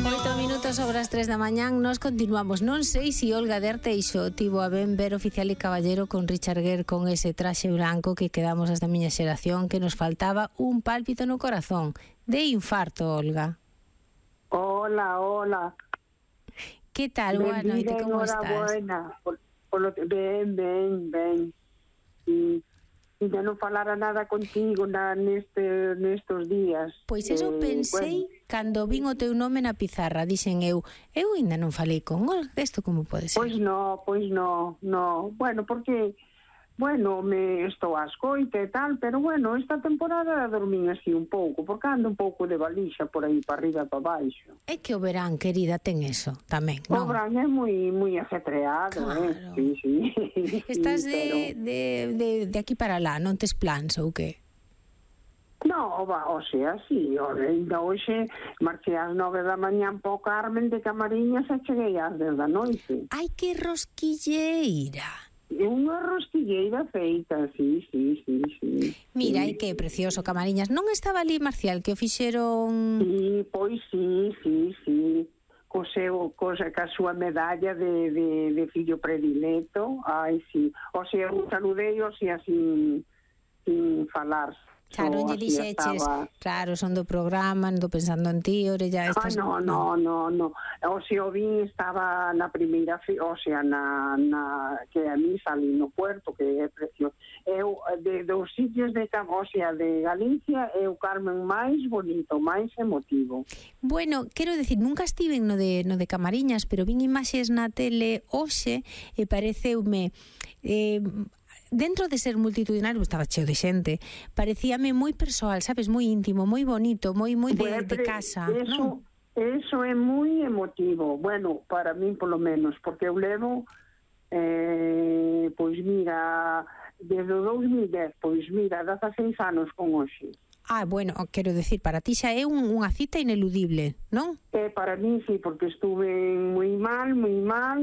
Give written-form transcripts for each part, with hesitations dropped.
8 minutos sobre as 3 da mañán. Nos continuamos. Non sei se Olga de Arteixo tivo a ben ver Oficial e Caballero con Richard Gere con ese traxe branco que quedamos as da miña xeración, que nos faltaba un pálpito no corazón. De infarto, Olga. Hola, hola. Que tal? Boa noite, como estás? Enhorabuena. Ben. E non falara nada contigo nestos días. Pois eso pensei cando vin o teu nome na pizarra. Dixen eu ainda non falei con Olga, isto como pode ser? Pois no. Bueno, porque me estou a escoita e tal, pero bueno, esta temporada dormín así un pouco, porque ando un pouco de balixa por aí para arriba e para baixo. É que o verán, querida, ten eso tamén, non? O verán é moi ajetreado, claro. Sí. Estás sí, de aquí para lá, non tes plans ou que? No, o sea, sí, ainda hoxe marchei ás 9 da mañán po Carmen de Camariñas e cheguei ás 10 da noite. Ai, que rosquilleira! Unha rosquilleira feita, sí. Mira, e que precioso Camariñas. Non estaba ali Marcial, que o fixeron... Sí, pois sí. Ca súa medalla de fillo predileto. Ai, sí. O sea, un saludei, o sea, sin falar. Claro, lle dixeches, claro, son do programa, ando pensando en ti, orella... No. O sea, o vin estaba na primeira, o sea, que a mí salí no puerto, que é precioso. Eu, dos sitios de Galicia, é o Carmen máis bonito, máis emotivo. Bueno, quero decir, nunca estive no de Camariñas, pero vin imaxes na tele hoxe e pareceume... dentro de ser multitudinario, estaba cheo de xente, parecíame moi persoal, sabes, moi íntimo, moi bonito, moi de casa. Eso é moi emotivo, bueno, para min polo menos, porque eu levo pois mira, desde o 2010, pois mira, 16 anos con hoxe. Bueno, quero decir, para ti xa é unha cita ineludible, non? Para mí sí, porque estuve moi mal,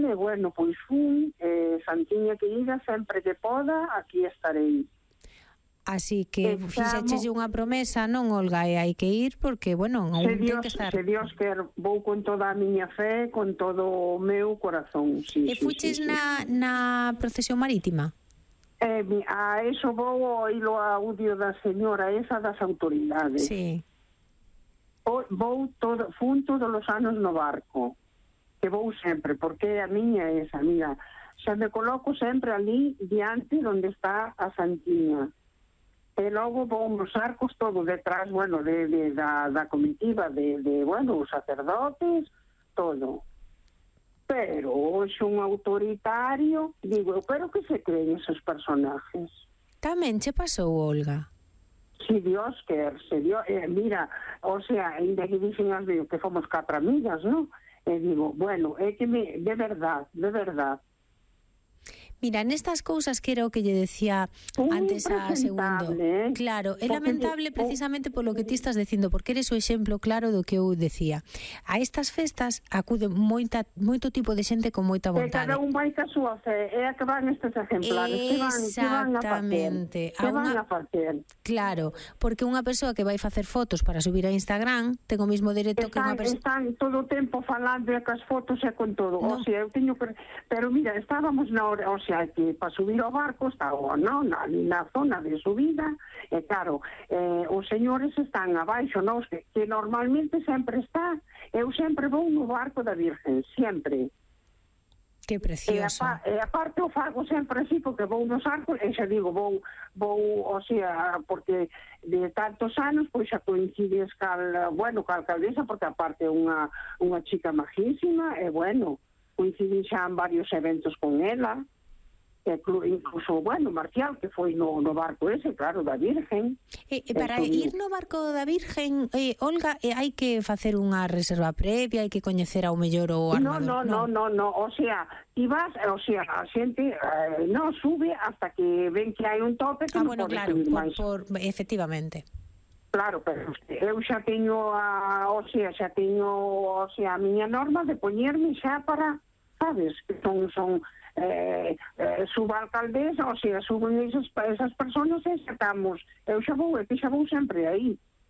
e bueno, pois fun, Santiña querida, sempre que poda, aquí estarei. Así que fixeche unha promesa, non, Olga, e hai que ir porque, bueno, ten que estar... Se Dios quer, vou con toda a miña fe, con todo o meu corazón, sí. E fuches na procesión marítima? A eso vou oílo a audio da señora esa das autoridades. Sí. Fun todos os anos no barco, que vou sempre, porque a miña é esa, mira, xa me coloco sempre ali diante onde está a Santiña. E logo vou nos arcos todo detrás, bueno, da comitiva, bueno, os sacerdotes, todo. Pero hoxe un autoritario, digo, pero que se creen esos personajes? Tamén che pasou, Olga? Si Dios quer, mira, o sea, ainda que dicen as veces que fomos 4 amigas, ¿no? E digo, bueno, é que de verdad. Mira, nestas cousas que era o que lle decía antes a Segundo. Claro, é lamentable precisamente polo que ti estás dicindo, porque eres o exemplo claro do que eu decía. A estas festas acude moito tipo de xente con moita vontade. Cada un vai ca súa fe, é a que van estes exemplares, exactamente. Que van a facer. Claro, porque unha persoa que vai facer fotos para subir a Instagram ten o mismo dereito que unha persoa... Están todo o tempo falando cas fotos e con todo. No. O sea, eu teño que... Pero mira, estábamos na hora... O sea, que para subir ao barco estaba na zona de subida e claro, os señores están abaixo, non? Que normalmente sempre está, eu sempre vou no barco da Virgen, sempre. Que precioso. E aparte o fago sempre así, porque vou nos arcos e xa digo, vou, o sea, porque de tantos anos, pois xa coincides ca alcaldesa, porque aparte é unha chica majísima, e bueno, coincidí xa en varios eventos con ela, incluso, bueno, Marcial, que foi no barco ese, claro, da Virgen. Para ir no barco da Virgen, Olga, hai que facer unha reserva previa, hai que coñecer ao mellor o armador? No, o sea, ti vas, o sea, a xente non sube hasta que ven que hai un tope que non pode subir máis. Efectivamente. Claro, pero eu xa teño a miña norma de poñerme xa para, sabes, que son suba a alcaldesa, o sea, suben esas personas e xa estamos, eu xa vou sempre aí.